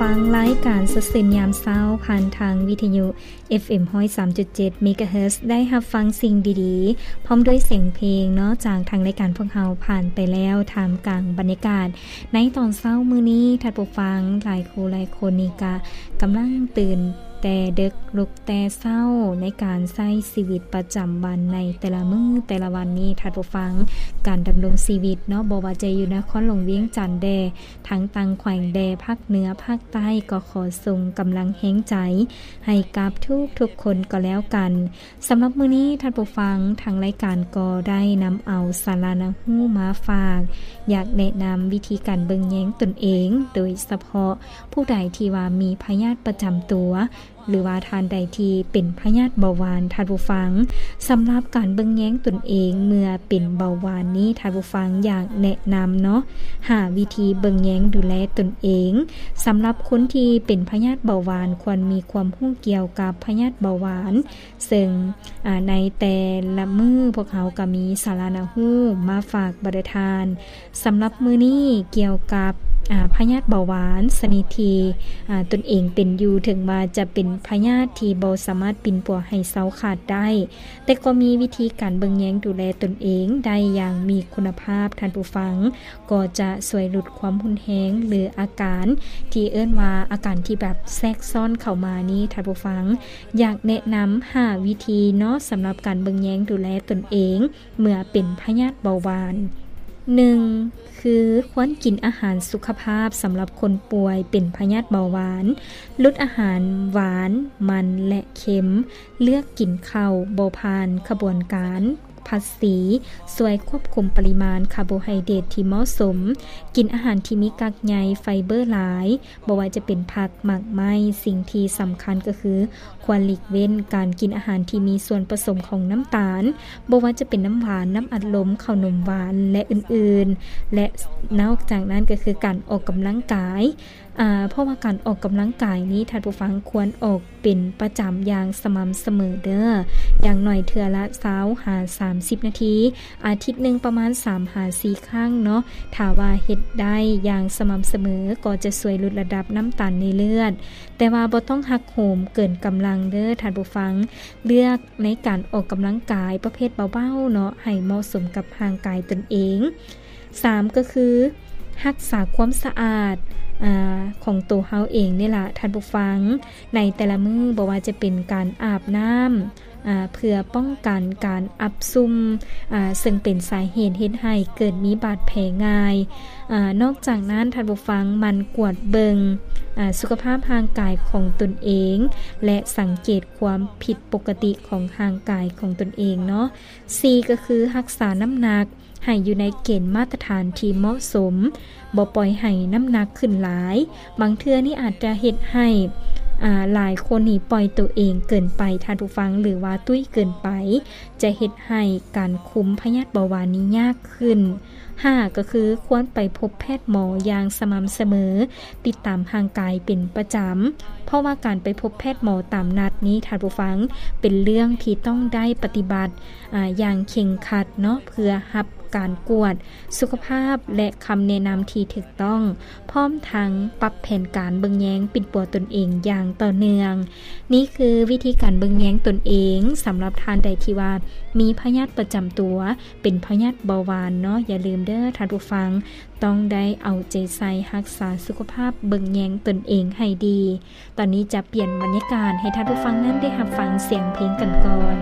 ຟັງລາຍການສະເສນຍາມເຊົ້າ ຜ່ານທາງວິທະຍຸ ເອັຟເອັມ ຮ້ອຍສາມຈຸດເຈັດ ເມກາເຮີດ ໄດ້ຮັບຟັງສິ່ງດີໆ ພ້ອມດ້ວຍສຽງເພງເນາະ ຈາກທາງລາຍການພວກເຮົາຜ່ານໄປແລ້ວ ທ່າມກາງບັນຍາກາດໃນຕອນເຊົ້າມື້ນີ້. ທ່ານຜູ້ຟັງ ຫຼາຍຄູ່ຫຼາຍຄົນນີ້ກະກຳລັງຕື່ນແຕ່ເດິກ ລຸກແຕ່ເຊົ້າ ໃນການໃຊ້ຊີວິດປະຈຳວັນໃນແຕ່ລະມື້ແຕ່ລະວັນນີ້ ທ່ານຜູ້ຟັງ ການດຳລົງຊີວິດເນາະ ບໍ່ວ່າຈະຢູ່ນະຄອນຫຼວງວຽງຈັນແດ່ ທັງຕ່າງແຂວງແດ່ ພາກເໜືອ ພາກໃຕ້ ກໍຂໍສົ່ງກຳລັງແຮງໃຈໃຫ້ກັບທຸກໆຄົນກໍແລ້ວກັນ. ສຳລັບມື້ນີ້ ທ່ານຜູ້ຟັງ ທາງລາຍການກໍໄດ້ນຳເອົາສາລະໜ້າຮູ້ມາຝາກ, ຢາກແນະນຳວິທີການເບິ່ງແຍງຕົນເອງ, ໂດຍສະເພາະຜູ້ໃດທີ່ວ່າມີພະຍາດປະຈຳຕົວ ຫຼືວ່າທ່ານໃດທີ່ເປັນພະຍາດເບົາຫວານ ທ່ານຜູ້ຟັງ, ສຳລັບການເບິ່ງແຍງຕົນເອງເມື່ອເປັນເບົາຫວານນີ້ ທ່ານຜູ້ຟັງ ຢາກແນະນຳເນາະ ຫ້າວິທີເບິ່ງແຍງດູແລຕົນເອງ. ສຳລັບຄົນທີ່ເປັນພະຍາດເບົາຫວານ ຄວນມີຄວາມຮູ້ກ່ຽວກັບພະຍາດເບົາຫວານ, ເຊິ່ງ ອາ ໃນແຕ່ລະມື້ພວກເຮົາກໍມີສາລະໜ້າຮູ້ມາຝາກບັນດາທ່ານ. ສຳລັບມື້ນີ້ກ່ຽວກັບ ອາ ພະຍາດເບົາຫວານຊະນິດທີ່ ອາ ຕົນເອງເປັນຢູ່, ເຖິງວ່າຈະເປັນພະຍາດທີ່ບໍ່ສາມາດປິ່ນປົວໃຫ້ເຊົາຂາດໄດ້, ແຕ່ກໍມີວິທີການເບິ່ງແຍງດູແລຕົນເອງໄດ້ຢ່າງມີຄຸນນະພາບ, ທ່ານຜູ້ຟັງ, ກໍຈະຊ່ວຍຫຼຸດຄວາມຮຸນແຮງ ຫຼື ອາການທີ່ເອີ້ນວ່າອາການທີ່ແບບແຊກຊ້ອນເຂົ້າມານີ້, ທ່ານຜູ້ຟັງ, ຢາກແນະນຳຫ້າວິທີເນາະ ສຳລັບການເບິ່ງແຍງດູແລຕົນເອງ ເມື່ອເປັນພະຍາດເບົາຫວານ. ໜຶ່ງ ຄືຄວນກິນອາຫານສຸຂະພາບສຳລັບຄົນປ່ວຍເປັນພະຍາດເບົາຫວານ, ຫຼຸດອາຫານຫວານ, ມັນ ແລະ ເຄັມ, ເລືອກກິນເຂົ້າບໍ່ຜ່ານຂະບວນການຜັດສີ, ຊ່ວຍຄວບຄຸມປະລິມານຄາໂບໄຮເດຣດທີ່ເໝາະສົມ, ກິນອາຫານທີ່ມີກາກໃຍໄຟເບີຫຼາຍ, ບໍ່ວ່າຈະເປັນຜັກ, ໝາກໄມ້, ສິ່ງທີ່ສຳຄັນກໍຄື ຄວນຫຼີກເວັ້ນການກິນອາຫານທີ່ມີສ່ວນປະສົມຂອງນ້ຳຕານ, ບໍ່ວ່າຈະເປັນນ້ຳຫວານ, ນ້ຳອັດລົມ, ເຂົ້າໜົມຫວານ ແລະ ອື່ນໆ ແລະ ນອກຈາກນັ້ນກໍຄືການອອກກຳລັງກາຍ, ອາ ເພາະວ່າການອອກກຳລັງກາຍນີ້ ທ່ານຜູ້ຟັງຄວນອອກເປັນປະຈຳຢ່າງສະໝ່ຳສະເໝີເດີ້, ຢ່າງໜ້ອຍເທື່ອລະຊາວຫາສາມສິບນາທີ, ອາທິດໜຶ່ງປະມານສາມຫາສີ່ຄັ້ງເນາະ. ຖ້າວ່າເຮັດໄດ້ຢ່າງສະໝ່ຳສະເໝີ ກໍຈະຊ່ວຍຫຼຸດລະດັບນ້ຳຕານໃນເລືອດ, ແຕ່ວ່າບໍ່ຕ້ອງຫັກໂຫມເກີນກຳລັງເດີ້ທ່ານຜູ້ຟັງ. ເລືອກໃນການອອກກຳລັງກາຍປະເພດເບົາໆເນາະ ໃຫ້ເໝາະສົມກັບຮ່າງກາຍຕົນເອງ. ສາມ ກໍຄືຮັກສາຄວາມສະອາດ ອາ ຂອງໂຕເຮົາເອງນີ້ລະທ່ານຜູ້ຟັງ. ໃນແຕ່ລະມື້ ບໍ່ວ່າຈະເປັນການອາບນ້ຳ ອາ ເພື່ອປ້ອງກັນການອັບຊຸ່ມ ອາ ເຊິ່ງເປັນສາເຫດເຮັດໃຫ້ເກີດມີບາດແຜງ່າຍ. ອາ ນອກຈາກນັ້ນ ທ່ານຜູ້ຟັງ ໝັ່ນກວດເບິ່ງ ອາ ສຸຂະພາບຮ່າງກາຍຂອງຕົນເອງ ແລະ ສັງເກດຄວາມຜິດປົກກະຕິຂອງຮ່າງກາຍຂອງຕົນເອງເນາະ. ສີ່ ກໍຄືຮັກສານ້ຳໜັກ ໃຫ້ຢູ່ໃນເກນມາດຕະຖານທີ່ເໝາະສົມ, ບໍ່ປ່ອຍໃຫ້ນ້ຳໜັກຂຶ້ນຫຼາຍ. ບາງເທື່ອນີ້ອາດຈະເຮັດໃຫ້ ອາ ຫຼາຍຄົນນີ້ປ່ອຍໂຕເອງເກີນໄປ, ທ່ານຜູ້ຟັງ, ຫຼືວ່າຕຸ້ຍເກີນໄປ, ຈະເຮັດໃຫ້ການຄຸມພະຍາດເບົາຫວານນີ້ຍາກຂຶ້ນ. ຫ້າ ກໍຄືຄວນໄປພົບແພດໝໍຢ່າງສະໝ່ຳສະເໝີ, ຕິດຕາມຮ່າງກາຍເປັນປະຈຳ, ເພາະວ່າການໄປພົບແພດໝໍຕາມນັດນີ້, ທ່ານຜູ້ຟັງ, ເປັນເລື່ອງທີ່ຕ້ອງໄດ້ປະຕິບັດ ອາ ຢ່າງເຄັ່ງຄັດເນາະ ເພື່ອຮັບການກວດສຸຂະພາບ ແລະ ຄຳແນະນຳທີ່ຖືກຕ້ອງ, ພ້ອມທັງປັບແຜນການເບິ່ງແຍງປິ່ນປົວຕົນເອງຢ່າງຕໍ່ເນື່ອງ. ນີ້ຄືວິທີການເບິ່ງແຍງຕົນເອງ ສຳລັບທ່ານໃດທີ່ວ່າມີພະຍາດປະຈຳຕົວ ເປັນພະຍາດເບົາຫວານເນາະ. ຢ່າລືມເດີ້ທ່ານຜູ້ຟັງ, ຕ້ອງໄດ້ເອົາໃຈໃສ່ຮັກສາສຸຂະພາບເບິ່ງແຍງຕົນເອງໃຫ້ດີ. ຕອນນີ້ຈະປ່ຽນບັນຍາກາດໃຫ້ທ່ານຜູ້ຟັງນັ້ນໄດ້ຮັບຟັງສຽງເພງກັນກ່ອນ.